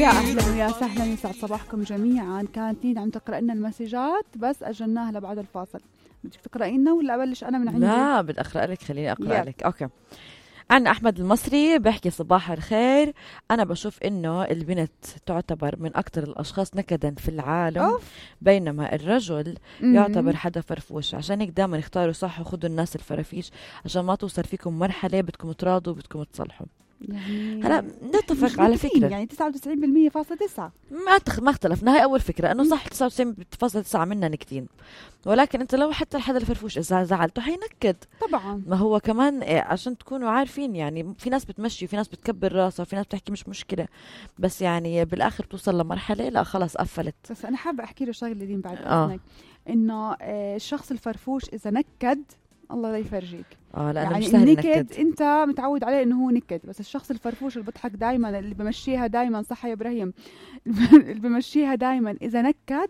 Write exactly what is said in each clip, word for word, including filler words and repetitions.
يا أهلا ويا سهلا، يسعد صباحكم جميعا. كانت نين عم تقرأ لنا المسجات بس أجلناها لبعد الفاصل. بدك تقرأي لنا ولا أبلش أنا من عندي؟ لا بدي أقرأ لك، خليني أقرأ يلا. لك. أوكي. عن أحمد المصري بحكي صباح الخير. أنا بشوف إنه البنت تعتبر من أكتر الأشخاص نكدا في العالم. أوف. بينما الرجل م-م. يعتبر حدا فرفوش، عشان هيك دائما اختاروا صح وخدوا الناس الفرافيش عشان ما توصل فيكم مرحلة بدكم تراضوا بدكم تصلحوا. يعني هلا نتفق على فكرة يعني تسعة وتسعين بالمية فاصلة تسعة ما تخ... ما اختلفنا. هاي أول فكرة إنه صح تسعة وتسعين فاصلة تسعة منا نكتين، ولكن أنت لو حتى الحدا الفرفوش إذا زعلته حينكد طبعا. ما هو كمان إيه عشان تكونوا عارفين، يعني في ناس بتمشي وفي ناس بتكبر راسها وفي ناس بتحكي مش مشكلة، بس يعني بالآخر بتوصل لمرحلة لا خلاص قفلت. بس أنا حابة أحكي له شغلة دين بعد آه. إذنك، إنه آه الشخص الفرفوش إذا نكد الله لا يفرجيك. اه لأنه يعني مش سهل النكد نكد. انت متعود عليه انه هو نكد، بس الشخص الفرفوش اللي بضحك دايما اللي بمشيها دايما صح يا ابراهيم اللي بمشيها دايما اذا نكد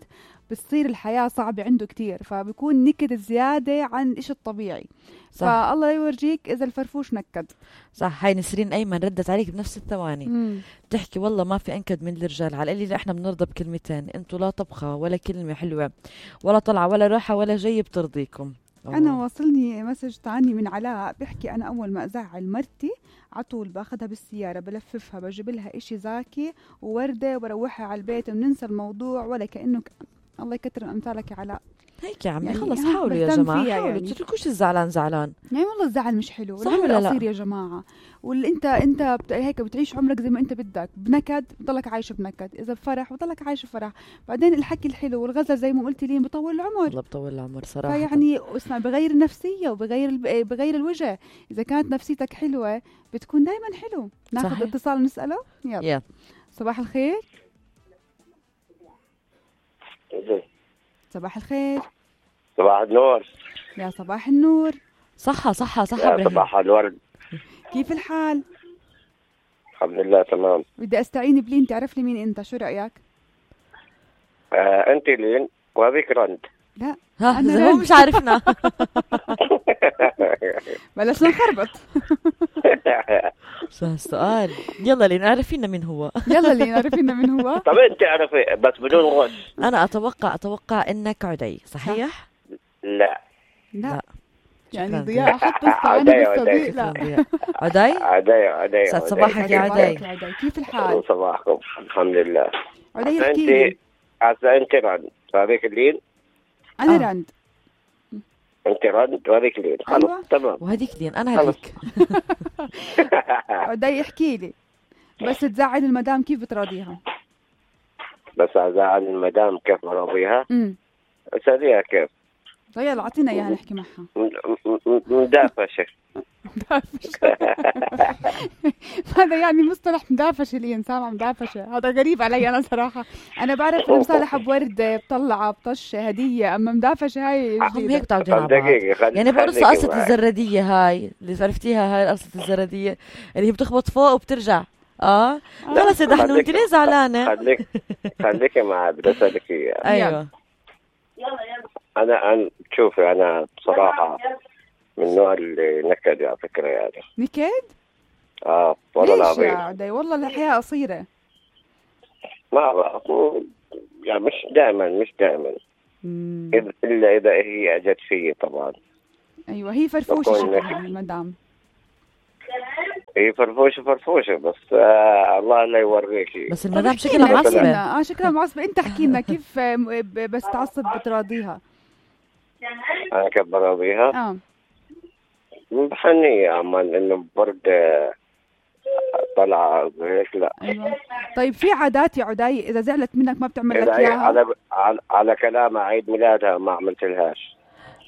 بتصير الحياة صعبة عنده كتير، فبيكون نكد زيادة عن إيش الطبيعي. صح. فالله لا يورجيك إذا الفرفوش نكد. صح. هاي نسرين أيمن ردت عليك بنفس الثواني. مم. تحكي والله ما في أنكد من الرجال، على اللي احنا بنرضى بكلمتين، انتوا لا طبخة ولا كلمة حلوة ولا طلعة ولا راحة ولا جاي بترضيكم. أوه. أنا واصلني مسج تاني من علاء بيحكي أنا أول ما أزعل مرتي عطول باخدها بالسيارة بلففها بجيب لها إشي زاكي ووردة وبروحها على البيت وبننسى الموضوع ولا كأنه ك... الله يكتر أمثالك يا علاء. هيك يا عمي يعني خلص حاولوا يا جماعة، حاولوا يعني. تتركوش الزعلان زعلان. يعني والله الزعل مش حلو، صح ولا لا؟ قصير يا جماعة. واللي انت انت بت... هيك بتعيش عمرك زي ما انت بدك، بنكد بضلك عايش بنكد، اذا بفرح بضلك عايش بفرح. بعدين الحكي الحلو والغزل زي ما قلتي لي بطول العمر. والله بطول العمر صراحة. فيعني اسمع بغير النفسية وبغير ال... بغير الوجه. اذا كانت نفسيتك حلوة بتكون دايما حلو. ناخذ اتصال ونسأله. يلا. يلا صباح الخير. صباح الخير. صباح النور. يا صباح النور. صحة صحة صحة يا صباح الورد. كيف الحال؟ الحمد لله تمام. بدي استعين بلين تعرف لي مين انت، شو رأيك؟ آه انت لين وهذيك رند. لا ها انا هو مش عارفنا. بلشنا نخربط. شو هالسؤال؟ يلا لين عرفينا مين هو. يلا لين عرفينا مين هو. طب انت عرفي بس بدون غش. انا اتوقع اتوقع انك عدي، صحيح؟ لا لا يعني ضياء حط استعانة بالصديق. لا عدي عدي عدي. سعد صباحك يا عدي. كيف الحال؟ صباحكم الحمد لله. عدي احكي لي. هسه انت رند وهذيك اللين. انا آه. رند. انت رند وهذيك لين. خلص أيوة. تمام. وهذيك لين انا هذيك. عدي احكي لي بس تزعل المدام كيف بتراضيها؟ بس ازعل المدام كيف براضيها؟ امم اساليها كيف. طيب يلا اعطينا اياها نحكي معها. مدافشه. مدافشه. هذا يعني مصطلح مدافشه لي سامع مدافشه، هذا غريب علي انا صراحه. انا بعرف المصالحه بورده بطلعه بطشه هديه، اما مدافشه هاي هم هيك بتعودين على بعض. يعني بقرص قصه الزرديه هاي اللي عرفتيها، هاي قصه الزرديه اللي هي بتخبط فوق وبترجع. اه خلص يا دحنو انت ليه زعلانه؟ خليك خليك معي بدي اسالك اياها. ايوه انا انا شوفي انا بصراحه من النوع اللي نكد على فكره. يعني نكد؟ اه والله العظيم. ليش يا عدي؟ والله الحياه قصيره. ما بعرف يعني مش دائما مش دائما الا اذا هي اجت فيي طبعا. ايوه هي فرفوشه شكلها المدام. هي فرفوشه فرفوشه بس آه الله لا يوريكي. بس المدام شكلها معصبه. اه شكلها معصبه. انت احكي لنا كيف بس تعصب بتراضيها؟ انا كيف براضيها؟ اه بحنية عمان انه برد طلع هيك. لا ايوه طيب في عادات يا عدي اذا زعلت منك ما بتعمل لك اياها؟ على على, على كلام عيد ميلادها ما عملت لهاش.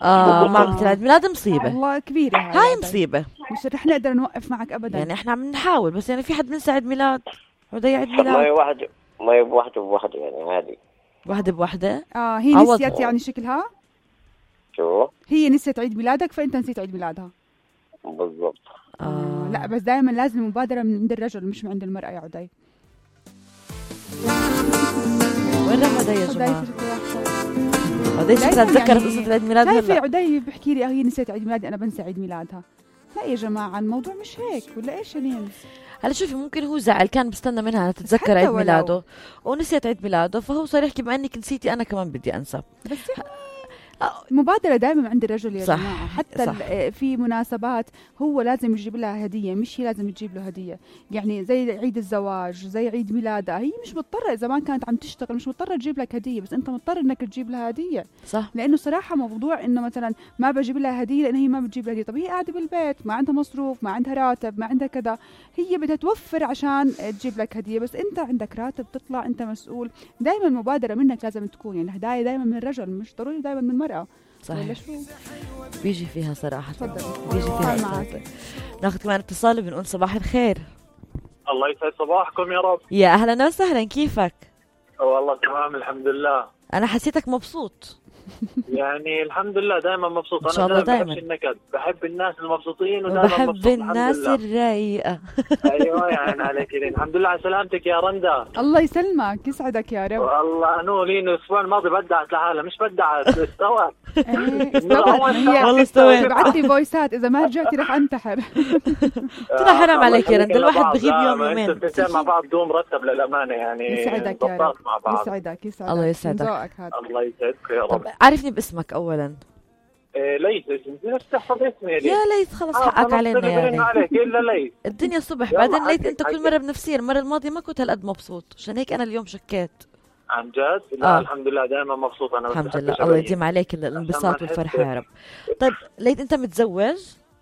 اه ما عملت عيد ميلاد مصيبه والله كبيره هاي, هاي مصيبه. مش رح نقدر نوقف معك ابدا. يعني احنا عم نحاول بس يعني في حد بنسى عيد ميلاد عدي عيد ميلاد. ما هي واحد ما هي بوحده بوحده يعني عادي. واحدة بوحدة. اه هي نسيت يعني شكلها. شو هي نسيت عيد ميلادك فانت نسيت عيد ميلادها. بالضبط. آه. لا بس دائما لازم المبادرة من عند الرجل مش من عند المرأة يا عدي. وين راح عدي يا جماعة؟ عدي شكلها تذكرت قصة عيد ميلادها. لا في عدي بحكي لي هي نسيت عيد ميلادي أنا بنسى عيد ميلادها. لا يا جماعة الموضوع مش هيك، ولا إيش لين؟ هلا شوفي، ممكن هو زعل، كان بستنى منها تتذكر حتى عيد ولو. ميلاده ونسيت عيد ميلاده، فهو صار يحكي بما انك نسيتي انا كمان بدي انسى. بس مبادرة دائما عند الرجل يا صح. جماعة، حتى صح. في مناسبات هو لازم يجيب لها هدية، مش هي لازم تجيب له هدية. يعني زي عيد الزواج، زي عيد ميلادها، هي مش مضطرة، إذا ما كانت عم تشتغل مش مضطرة تجيب لك هدية، بس أنت مضطر إنك تجيب لها هدية. صح. لأنه صراحة موضوع إنه مثلا ما بجيب لها هدية لأن هي ما بتجيب لها هدية، طب هي قاعدة بالبيت ما عندها مصروف، ما عندها راتب، ما عندها كذا، هي بدها توفر عشان تجيب لك هدية، بس أنت عندك راتب تطلع، أنت مسؤول. دائما المبادرة منك لازم تكون، يعني الهدايا دائما من الرجل، مش ضروري دائما من المرأة. صحيح. بيجي فيها صراحة. تفضل. بيجي فيها معك. ناخذ كمان اتصال بنقول صباح الخير. الله يسعد صباحكم يا رب. يا أهلا وسهلا، كيفك؟ والله تمام الحمد لله. أنا حسيتك مبسوط. يعني الحمد لله دائما مبسوط. إن شاء الله أنا دايما. بحب النكد، بحب الناس المبسوطين ودائما بحب مبسوط. الناس الرايقة. أيوة يعني عليك. الحمد لله على سلامتك يا رندا. الله يسلمك، يسعدك يا رب. والله أنو لين الأسبوع الماضي بدعت لحالها، مش بدعت استوت. إيه، استوت. هي والله استويت. بعت لي فويسات، إذا ما رجعتي رح أنتحر. ترى حرام عليك يا رندا، الواحد بغيب يوم يومين. انتوا الاثنين مع بعض بدون مرتب للأمانة يعني. يسعدك يا رب. مع بعض. يسعدك يسعدك. الله يسعدك. من ذوقك هذا. الله يسعدك يا رب. طب عرفني باسمك أولا. إيه ليث، نفس تحفظ اسمي يا ليث خلص حقك علينا يا ليث. عليك إلا ليث. الدنيا صبح، يلا بعدين ليث حكي- انت كل حكي. مره بنفسيه، المره الماضيه ما كنت هالقد مبسوط، عشان هيك انا اليوم شكيت. عن جد؟ لا آه. الحمد لله دائما مبسوط انا. الحمد لله، الله يديم عليك ال- الانبساط والفرحه يا رب. طيب ليث انت متزوج؟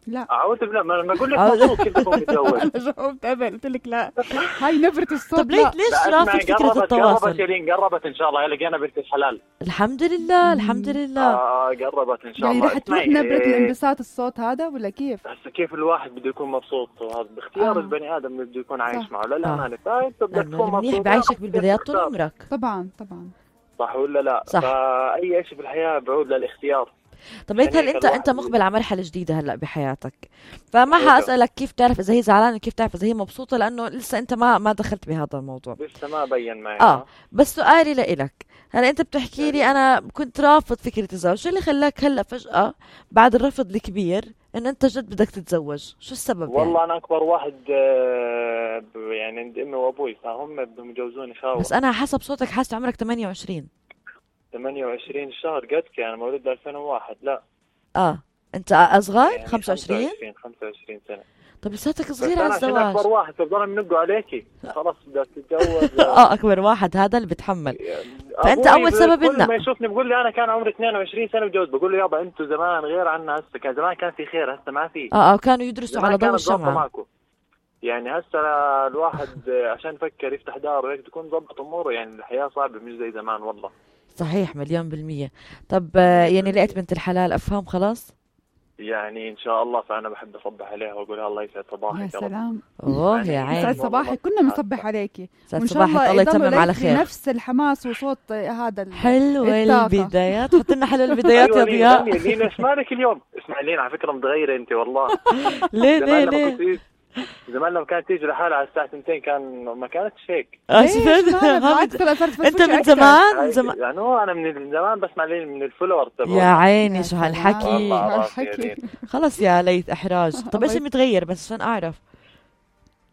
لا اعوذ بالله، ما ما اقول لك أعوذ- مبسوط كيف تكون متزوج. أنا جاوبت قبل، قلت لك لا. هاي نبرة الصوت. طب لا. ليث ليش لا، رافض اسمعي، فكره قربت قربت التواصل؟ يا لين، قربت ان شاء الله. لقينا بنت الحلال. الحمد لله الحمد لله. اه قربت ان شاء يعني الله. رح تروح اسمعي، نبرة إيه، الانبساط الصوت هذا ولا كيف؟ هسه كيف الواحد بده يكون مبسوط، وهذا باختيار آه. البني ادم اللي بده يكون عايش صح. معه للامانه. فانت بدك لانه تكون المنيح مبسوط. بعيشك بالبدايات طول تختار. عمرك. طبعا طبعا. صح ولا لا؟ صح. فاي شيء في الحياه بعود للاختيار. طب ليث هل يعني انت الواحد انت مقبل على مرحله جديده هلا بحياتك، فما أيوة. حاسالك كيف تعرف اذا هي زعلانه وكيف تعرف اذا هي مبسوطه، لانه لسه انت ما ما دخلت بهذا الموضوع. لسه ما بين معي. اه بس سؤالي لإلك، هلا انت بتحكي لي انا كنت رافض فكره الزواج، شو اللي خلاك هلا فجاه بعد الرفض الكبير ان انت جد بدك تتزوج؟ شو السبب؟ والله يعني؟ انا اكبر واحد آه، ب- يعني عند امي وابوي، فهم بدهم يجوزوني خاوة. بس انا حسب صوتك حاسه عمرك ثمانية وعشرين. ثمانية وعشرين شهر قدك، انا مولود ألفين وواحد. لا اه انت اصغر يعني خمسة وعشرين. خمسة وعشرين سنة. طب لساتك بس صغير على انا عشان اكبر الزواج. واحد فبضل منقوا عليكي، خلاص بدك تتجوز. اه اكبر واحد هذا اللي بتحمل. فأنت أبوي أول سبب كل إنه- ما يشوفني بقول لي انا كان عمري اثنين وعشرين سنة بجوز، بقول له يابا انتوا زمان غير عنا، هسه كان زمان كان في خير، هسه ما في. اه اه كانوا يدرسوا زمان على ضوء كانت ظابطة الشمعة. معكم. يعني هسه الواحد عشان يفكر يفتح دار وهيك تكون ضبط اموره، يعني الحياة صعبة مش زي زمان والله. صحيح مليون بالمية. طب آه، يعني لقيت بنت الحلال افهم خلاص؟ يعني ان شاء الله، فانا بحب اصبح عليها واقول لها الله يسعد يا صباحك يا رب. سلام. اوه يا يعني يسعد عيني. صباحك، كنا بنصبح عليكي. سعد وإن شاء صباحك، الله يضلوا يتمم على لك خير. نفس الحماس وصوت هذا ال- حلوة الطاقة. البدايات، حط لنا حلوة البدايات يا أيوة لين، ضياء. لين لين ايش مالك اليوم؟ اسمع لين، على فكره متغيره انت والله. ليه ليه زمان لما ليه؟ كنت تيجي- زمان لما كانت تيجي لحالها على الساعه اثنتين كان ما كانتش هيك. آه، ليش؟ شفت؟ مالك؟ بالعكس طلع صارت انت فرفوشة من أكتر. زمان من هاي- زمان. يعني هو انا من زمان بسمع لين من الفلور يا تبعه. عيني يا شو سلام. هالحكي. والله. هالحكي. خلص يا ليث احراج. طب الله ايش اللي متغير بس عشان اعرف؟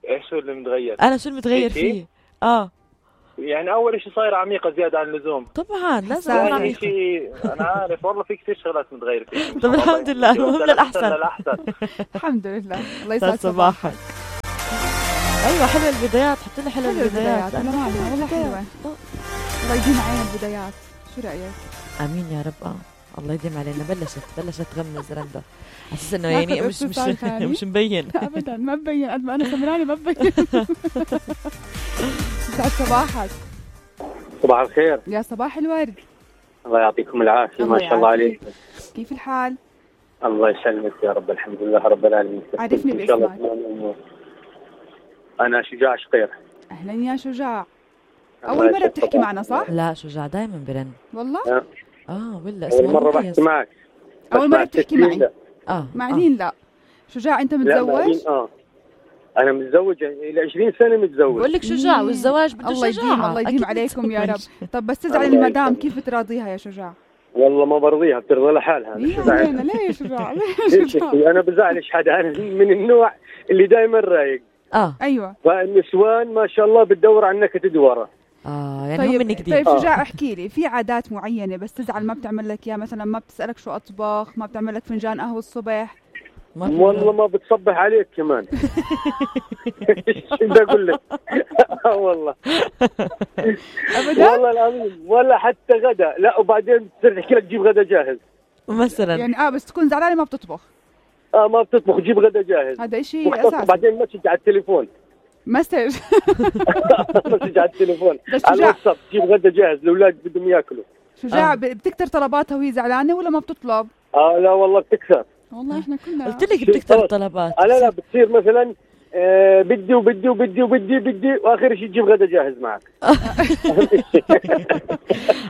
ايش هو اللي متغير؟ انا شو المتغير إنتي؟ فيه؟ اه يعني اول شيء صايره عميقه زياده عن اللزوم. طبعا لازم حساسة. اكون ثاني عميقة. شيء انا عارف والله في كثير شغلات متغيره فيك. طب الحمد لله، المهم للأحسن. للاحسن. الحمد لله. الله سعد يسعد صباحك. صباحك. ايوه حلوة البدايات، حط لنا حلوة حلوة البدايات. البدايات، أنا معنا والله حلوة. الله يديم علينا البدايات. شو رأيك؟ امين يا رب. اه الله يديم علينا. بلشت بلشت تغمز رندا على اساس انه ناخذ يعني مش اتصال مش ثاني. مش مبين. لا أبدا ما ببين قد ما أنا سمراني ما ببين. يسعد صباحك. صباح الخير. يا صباح الورد. الله يعطيكم العافية. الله ما شاء الله يعافيك. عليك. كيف الحال؟ الله يسلمك يا رب. الحمد لله رب العالمين. عرفني إن شاء الله باسمك. تمام الأمور. أنا شجاع شقير. أهلا يا شجاع. الله أول مرة يسعد بتحكي صباحك. معنا صح؟ لا شجاع دائما برن. والله؟ أه. اه ولا أول اسمه مرة مميز. بحكي معك. أول بس مرة مع بتحكي التسجيل معي. لا. اه مع آه. لين لا. شجاع أنت لا مع متزوج؟ مين؟ آه أنا متزوج إلى عشرين سنة متزوج. بقول لك شجاع، مم. والزواج بده الله شجاعة. يديم الله يديم أكيد عليكم يا رب. متزوج. طب بس تزعل الله المدام يسلمك. كيف تراضيها يا شجاع؟ والله ما برضيها، بترضى لحالها. أنا ليش شجاع؟ ليش شجاع؟ انا بزعلش حدا، انا من النوع اللي دائما رايق. اه ايوه. فالنسوان ما شاء الله بتدور على النكت دورة. اه يعني طيب هم منك دي. طيب شجاع احكي لي، في عادات معينه بس تزعل ما بتعمل لك اياها؟ مثلا ما بتسالك شو اطبخ، ما بتعمل لك فنجان قهوه الصبح؟ والله ما بتصبح عليك كمان. شو بدي اقول لك؟ اه والله ابدا والله العظيم، ولا حتى غدا. لا وبعدين بتصير تحكي لك جيب غدا جاهز مثلا. يعني اه بس تكون زعلانه ما بتطبخ. اه ما بتطبخ، جيب غدا جاهز. هذا شيء مختصر. اساسي. بعدين مسج على التليفون. مسج مسج على التليفون بس على شجاع. الواتساب، جيب غدا جاهز، الاولاد بدهم ياكلوا. شجاع آه. بتكتر طلباتها وهي زعلانه ولا ما بتطلب؟ اه لا والله بتكثر. والله احنا كنا قلت لك بتكتر الطلبات. آه لا لا بتصير مثلا آه بدي وبدي وبدي وبدي بدي واخر شيء تجيب غدا جاهز معك.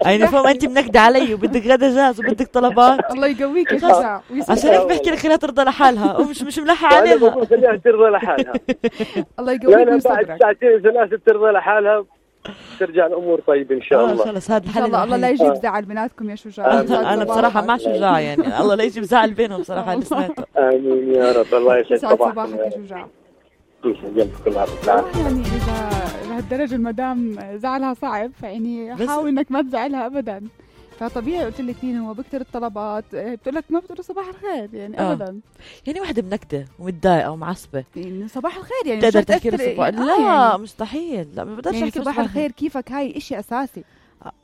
يعني فهم انت منكدة علي وبدك غدا جاهز وبدك طلبات. الله يقويك يا شجاع عشان هيك بحكي لك خليها ترضى لحالها ومش مش ملحة انا عليها. بقول خليها ترضى لحالها. الله لا يقويك لا من بعد صبرك ساعتين ثلاثة ترضى لحالها، ترجع الامور طيب ان شاء آه الله. خلص هذا ان الحل شاء الله. الله لا الوحيد. يجيب زعل بيناتكم يا شجاع. آمين. انا بصراحة مع شجاع يعني الله لا يجيب زعل بينهم بصراحة اللي سمعته. امين يا رب. الله يسعد يسعد صباحك. صباحك يا شجاع. يسعد كل عام. يعني اذا لهالدرجه المدام زعلها صعب، فيعني بس- حاول انك ما تزعلها ابدا. فطبيعي قلت لك مين هو بكتر الطلبات، بتقول لك ما بتقول صباح الخير يعني آه. ابدا. يعني واحدة منكدة ومتضايقة ومعصبة يعني صباح الخير يعني بتقدر مش تحكي له هتأثر- صباح؟ يعني- لا آه يعني. مستحيل. لا ما بقدرش يعني احكي صباح الخير كيفك، هاي اشي اساسي.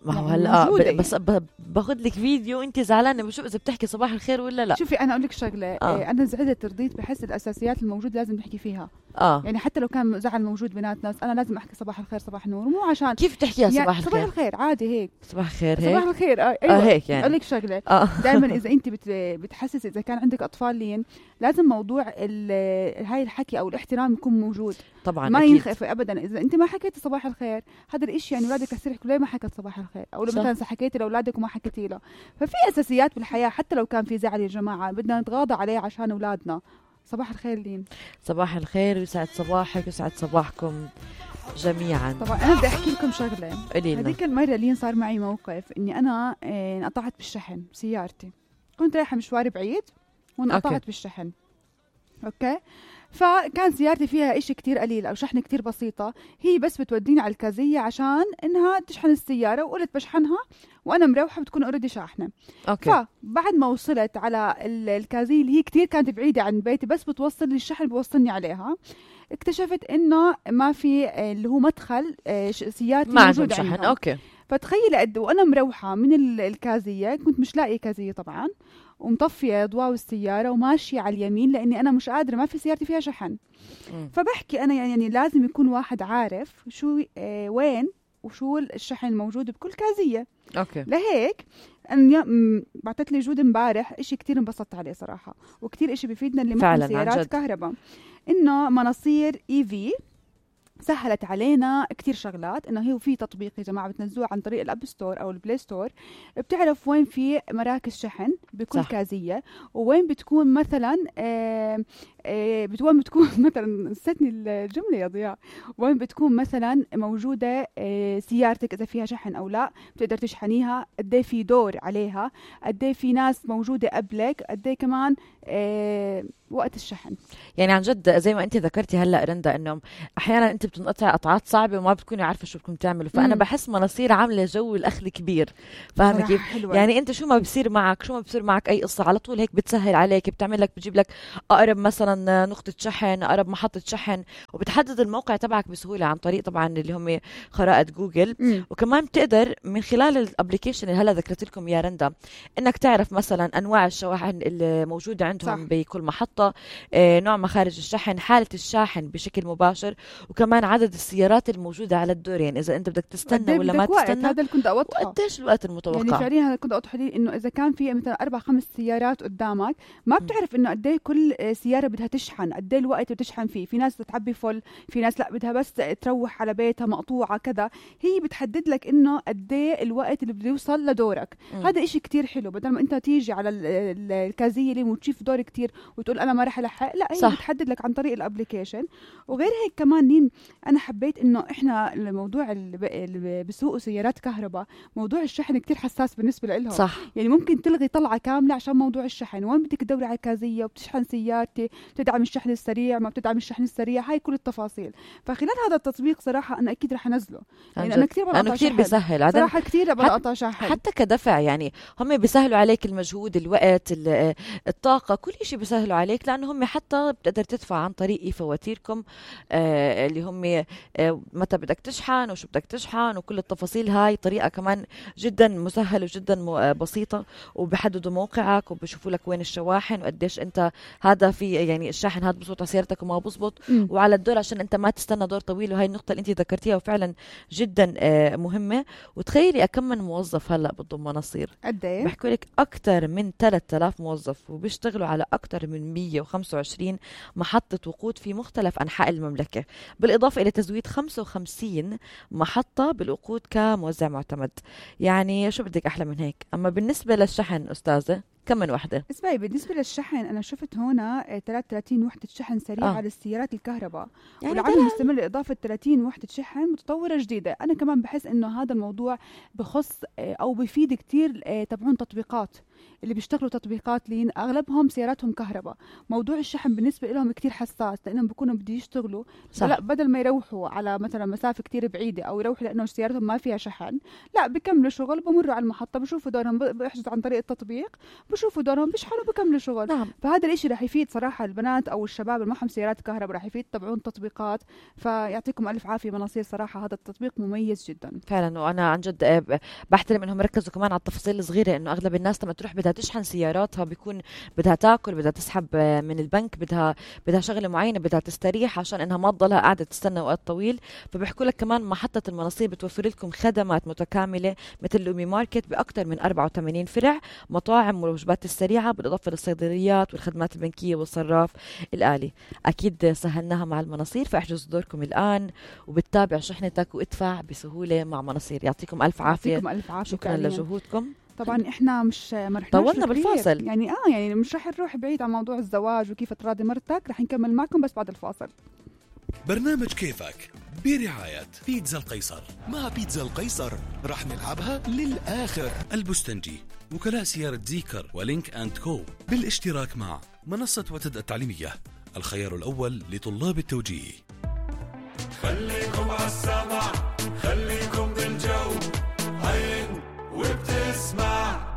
ما هو يعني هلا موجودة ب- بس ب- باخذ لك فيديو انت زعلانه بشوف اذا بتحكي صباح الخير ولا لا. شوفي انا اقول لك شغله، آه. آه. انا زعلت رضيت بحس الاساسيات الموجوده لازم نحكي فيها. اه يعني حتى لو كان زعل موجود بيناتنا بس انا لازم احكي صباح الخير صباح النور، مو عشان كيف تحكيها يعني صباح صباح الخير؟ الخير عادي هيك. صباح الخير صباح هيك. الخير آه. ايوه اه هيك يعني. اقول لك شغله، اه دائما اذا انت بت بتحسس اذا كان عندك اطفال لين لازم موضوع ال- هاي الحكي او الاحترام يكون موجود. طبعا ما أكيد. ينخف ابدا. اذا انت ما حكيتي صباح الخير هذا الاشي يعني اولادك رح يحكوا ليه ما حكت صباح الخير، او لو صح. مثلا حكيتي لاولادك وما حكيتي له. ففي اساسيات بالحياه حتى لو كان في زعل يا جماعه بدنا نتغاضى عليه عشان اولادنا. صباح الخير لين. صباح الخير ويسعد صباحك ويسعد صباحكم جميعا. طبعا انا بدي احكي لكم شغله. قولي لنا. هذيك المره لين صار معي موقف اني انا آه، انقطعت بالشحن بسيارتي. كنت رايحه مشوار بعيد وانقطعت أوكي. بالشحن. اوكي. فكان سيارتي فيها إشي كتير قليل أو شحنة كتير بسيطة، هي بس بتوديني على الكازية عشان إنها تشحن السيارة، وقلت بشحنها وأنا مروحة بتكون أوريدي شاحنة. اوكي. فبعد ما وصلت على ال- الكازية اللي هي كتير كانت بعيدة عن بيتي بس بتوصل لي الشحن بوصلني عليها، اكتشفت إنه ما في آه، اللي هو مدخل آه، ش- سيارتي ما عندهم موجود شحن. عندهم. اوكي. فتخيلي قد وانا مروحه من ال- الكازيه كنت مش لاقيه كازيه طبعا، ومطفيه اضواء السياره وماشيه على اليمين لاني انا مش قادره ما في سيارتي فيها شحن. مم. فبحكي انا يعني يعني لازم يكون واحد عارف شو آه وين وشو الشحن الموجود بكل كازيه. اوكي. لهيك أنا بعثت لي جود امبارح إشي كتير انبسطت عليه صراحه، وكتير إشي بفيدنا اللي فعلاً، معهم عن سيارات جد. كهرباء، انه مناصير اي في سهلت علينا كتير شغلات. انه هي في تطبيق يا جماعه بتنزلوه عن طريق الاب ستور او البلاي ستور، بتعرف وين في مراكز شحن بكل صح. كازيه، وين بتكون مثلا آه آه وين بتكون مثلا نسيتني الجمله يا ضياء، وين بتكون مثلا موجوده آه سيارتك اذا فيها شحن او لا، بتقدر تشحنيها، قد ايه في دور عليها، قد ايه في ناس موجوده قبلك، قد ايه كمان آه وقت الشحن. يعني عن جد زي ما انت ذكرتي هلا رندا انه احيانا انت بتنقطع قطعات صعبه وما بتكوني عارفه شو بدكم تعملوا، فانا مم. بحس مناصير عامله جو الاخذ كبير. فاهمه صراحة كيف؟ حلوة. يعني انت شو ما بصير معك شو ما بصير معك اي قصه على طول هيك بتسهل عليك، بتعمل لك بتجيب لك اقرب مثلا نقطه شحن، اقرب محطه شحن، وبتحدد الموقع تبعك بسهوله عن طريق طبعا اللي هم خرائط جوجل. مم. وكمان بتقدر من خلال الابلكيشن اللي هلا ذكرت لكم يا رندا انك تعرف مثلا انواع الشواحن اللي موجوده عندهم صح. بكل محطه، آه، نوع مخارج الشحن، حاله الشاحن بشكل مباشر، وكمان عدد السيارات الموجوده على الدور، يعني اذا انت بدك قد تستنى إيه ولا ما بدك وقت؟ تستنى، هذا اللي كنت اوضحه. وقديش الوقت يعني المتوقع. فعليا هذا كنت اوضح لي انه اذا كان في مثلا اربع خمس سيارات قدامك ما بتعرف انه قد ايه كل سياره بدها تشحن، قد ايه الوقت بتشحن فيه، في ناس بتعبي فل، في ناس لا بدها بس تروح على بيتها مقطوعه كذا، هي بتحدد لك انه قد ايه الوقت اللي بده يوصل لدورك. مم. هذا إشي كتير حلو، بدل ما انت تيجي على ال- ال- الكازيه اللي وتشوف دور كتير وتقول أنا ما رح ألحق، لا هي صح. بتحدد لك عن طريق الابليكيشن. وغير هيك كمان نين أنا حبيت إنه إحنا الموضوع اللي بسوقوا سيارات كهرباء موضوع الشحن كتير حساس بالنسبة لهم. صح. يعني ممكن تلغي طلعة كاملة عشان موضوع الشحن، وين بدك تدوري على كازية وبتشحن سيارتي، بتدعم الشحن السريع ما بتدعم الشحن السريع، هاي كل التفاصيل. فخلال هذا التطبيق صراحة أنا أكيد رح أنزله، يعني أنا كتير لأنه كتير بيسهل صراحة، كتير بقطع شحن حتى كدفع. يعني هم بيسهلوا عليك المجهود، الوقت، الطاقة، كل شيء بيسهلوا عليك، لأنه هم حتى بتقدر تدفع عن طريق فواتيركم آه اللي هم آه متى بدك تشحن وشو بدك تشحن وكل التفاصيل. هاي طريقة كمان جدا مسهلة وجدا بسيطة، وبحددوا موقعك وبشوفوا لك وين الشواحن وقديش انت هذا في يعني الشاحن هذا بزبط على سيارتك وما بزبط، وعلى الدور عشان انت ما تستنى دور طويل. وهي النقطة اللي انت ذكرتيها وفعلا جدا آه مهمة. وتخيلي أكم من موظف هلا بتضم مناصير؟ قد ايه؟ بحكوا لك أكثر من ثلاثة آلاف موظف، وبيشتغلوا على أكثر من مية وخمسة وعشرين محطة وقود في مختلف أنحاء المملكة، بالإضافة إلى تزويد خمسة وخمسين محطة بالوقود كموزع معتمد. يعني شو بدك أحلى من هيك؟ أما بالنسبة للشحن أستاذة كم من وحدة؟ اسمعي، بالنسبة للشحن أنا شفت هنا ثلاثة وثلاثين وحدة شحن سريع آه. على السيارات الكهرباء، يعني والعمل مستمر لإضافة ثلاثين وحدة شحن متطورة جديدة. أنا كمان بحس إنه هذا الموضوع بخص أو بيفيد كتير تبعون تطبيقات اللي بيشتغلوا تطبيقات لين أغلبهم سياراتهم كهرباء. موضوع الشحن بالنسبة لهم كتير حساس، لأنهم بيكونوا بدي يشتغلوا، لا بدل ما يروحوا على مثلا مسافة كتير بعيدة أو يروحوا لأنه سيارتهم ما فيها شحن، لا بيكملوا شغل، بمروا على المحطة بشوفوا دورهم، بيحجزوا عن طريق التطبيق، بشوفوا دورهم، بيشحنوا، بكملوا شغل. نعم. فهذا الاشي رح يفيد صراحة البنات أو الشباب اللي معهم سيارات كهرباء، رح يفيد تبعون تطبيقات. فيعطيكم ألف عافية مناصير، صراحة هذا التطبيق مميز جدا فعلا. وأنا عن جد بحترم إنهم ركزوا كمان على التفاصيل الصغيرة، إنه أغلب الناس لما تروح بدها تشحن سياراتها بيكون بدها تاكل، بدها تسحب من البنك، بدها بدها شغله معينه، بدها تستريح عشان انها ما تضلها قاعده تستنى وقت طويل. فبيحكوا لك كمان محطه المناصير بتوفر لكم خدمات متكامله مثل لومي ماركت باكثر من أربعة وثمانين فرع، مطاعم والوجبات السريعه، بالاضافه للصيدليات والخدمات البنكيه والصراف الالي. اكيد سهلناها مع المناصير، فاحجزوا دوركم الان وبتتابع شحنتك وادفع بسهوله مع مناصير. يعطيكم الف عافيه. يعطيكم الف عافيه. شكرا لجهودكم. طبعا احنا مش ما رح طولنا بالفاصل، يعني اه يعني مش رح نروح بعيد عن موضوع الزواج وكيف تراضي مرتك، رح نكمل معكم بس بعد الفاصل. برنامج كيفك برعاية بيتزا القيصر. مع بيتزا القيصر رح نلعبها للآخر. البستنجي، وكلاء سيارة زيكر ولينك أند كو، بالاشتراك مع منصة وتد التعليمية، الخيار الأول لطلاب التوجيه. خليكم عالسمع، خليكم بالجو، عين وبتسمع.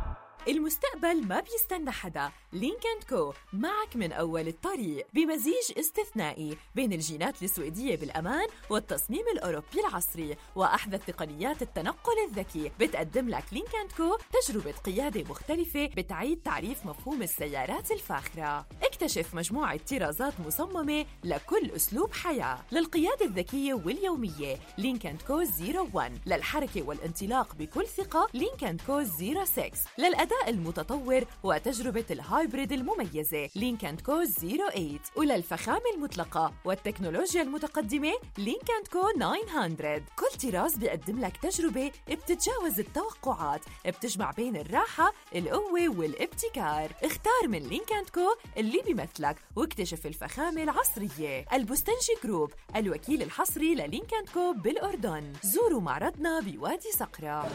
المستقبل ما بيستنى حدا. لينك أند كو معك من أول الطريق، بمزيج استثنائي بين الجينات السويدية بالأمان والتصميم الأوروبي العصري وأحدث تقنيات التنقل الذكي. بتقدم لك لينك أند كو تجربة قيادة مختلفة بتعيد تعريف مفهوم السيارات الفاخرة. اكتشف مجموعة طرازات مصممة لكل أسلوب حياة. للقيادة الذكية واليومية لينك أند كو صفر واحد، للحركة والانطلاق بكل ثقة لينك أند كو صفر ستة، للأداء المتطور وتجربة الهايبريد المميزة لينك أند كو صفر ثمانية، وللفخامة المطلقة والتكنولوجيا المتقدمة لينك أند كو تسعمية. كل طراز بيقدم لك تجربة بتتجاوز التوقعات، بتجمع بين الراحة، القوة والابتكار. اختار من لينك أند كو اللي بيمثلك واكتشف الفخامة العصرية. البستنجي جروب، الوكيل الحصري للينك أند كو بالأردن. زوروا معرضنا بوادي صقرة.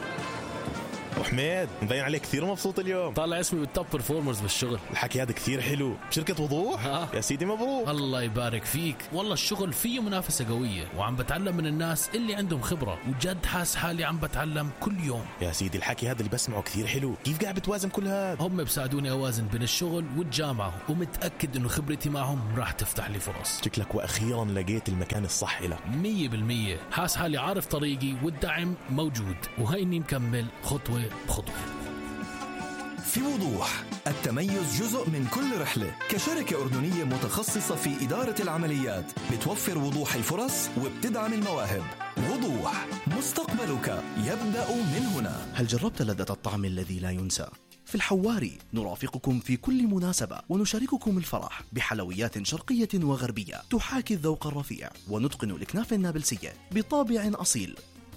وحميد، مبين عليك كثير مبسوط اليوم. طالع اسمي بالتوب برفورمرز بالشغل. الحكي هذا كثير حلو. بشركة وضوح؟ ها. يا سيدي مبروك. الله يبارك فيك. والله الشغل فيه منافسة قوية، وعم بتعلم من الناس اللي عندهم خبرة، وجد حاس حالي عم بتعلم كل يوم. يا سيدي الحكي هذا اللي بسمعه كثير حلو. كيف قاعد بتوازن كل هذا؟ هم بساعدوني أوازن بين الشغل والجامعة، ومتأكد إنه خبرتي معهم راح تفتح لي فرص. شكلك وأخيرا لقيت المكان الصح لك. مية بالمية. حاس حالي عارف طريقي والدعم موجود، وهيني مكمل خطوة بخطوة. في وضوح، التميز جزء من كل رحلة. كشركة أردنية متخصصة في إدارة العمليات، بتوفر وضوح الفرص وبتدعم المواهب. وضوح، مستقبلك يبدأ من هنا. هل جربت لذة الطعم الذي لا ينسى؟ في الحواري نرافقكم في كل مناسبة ونشارككم الفرح بحلويات شرقية وغربية تحاكي الذوق الرفيع، ونتقن الكنافة النابلسية بطابع أصيل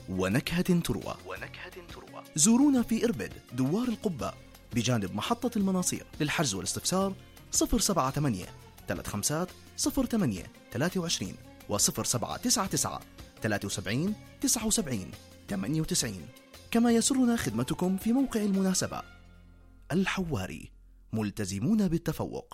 ونكهة تروى. ونكهة تروى. زورونا في إربد دوار القبة بجانب محطة المناصير. للحجز والاستفسار صفر سبعة ثمانية ثلاث خمسات صفر ثمانية ثلاثة وعشرين وصفر سبعة تسعة تسعة ثلاثة وسبعين تسعة وسبعين ثمانية وتسعين. كما يسرنا خدمتكم في موقع المناسبة. الحواري، ملتزمون بالتفوق.